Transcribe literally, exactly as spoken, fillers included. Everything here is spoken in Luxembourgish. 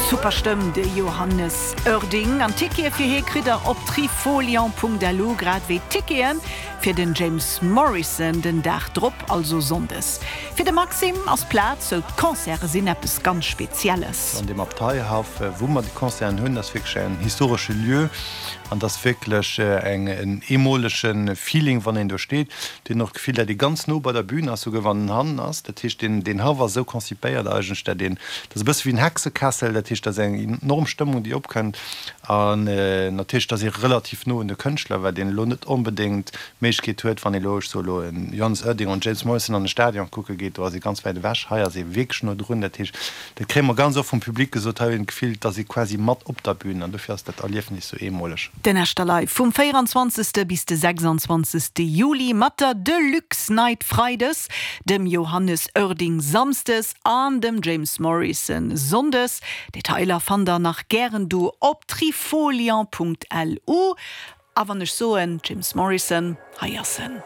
Super Stëmm, de Johannes Oerding. An Tickete fir hie kritt der op trifolion Punkt L U, grad wéi Tickete fir den James Morrison den Dag drop, also sonndes. Fir de Maxime ass Plaz, sou d'Concerte sinn eppes ganz Spezielles. An dem Abteihaff, wou mer de Concerten hunn, ass wierklech en historesche Lieu an dat ass wierklech eng en eemolege Feeling, wann een do steet, deen och d'Gefill, datt ee ganz no bei der Bühn ass, souguer wann en hannen ass. Dat heescht, deen deen Haff ass esou konzipéiert eigentlech, datt een, dat ass e bësse wéi en Hexekessel, dat heescht, dat ass eng enorm Stëmmung, déi opkënnt an natierlech, et ass ee relativ no un de Kënschtler, wat een elo net onbedéngt d'Méiglechkeet huet, wann ee elo, ech soe elo, en Johannes Oerding an James Morrison an de Stadion kucke geet, do ass ee ganz wäit ewech. Hei ass ee wierklech no drun. Dat heescht, dat kréie mer ganz oft vum Public gesot, hei huet een d'Gefill, et ass ee quasi mat op der Bühn an dofir ass dat Erliefnis sou eemoleg. Den Echterlive vum véieranzwanzegste bis de sechsanzwanzegste Juli mat der Deluxe Night freides, dem Johannes Oerding samsdes an dem James Morrison sonndes. Detailer fannt der nach gären do op trifolion Punkt L U. A wann ech soen James Morrison, hei ass en.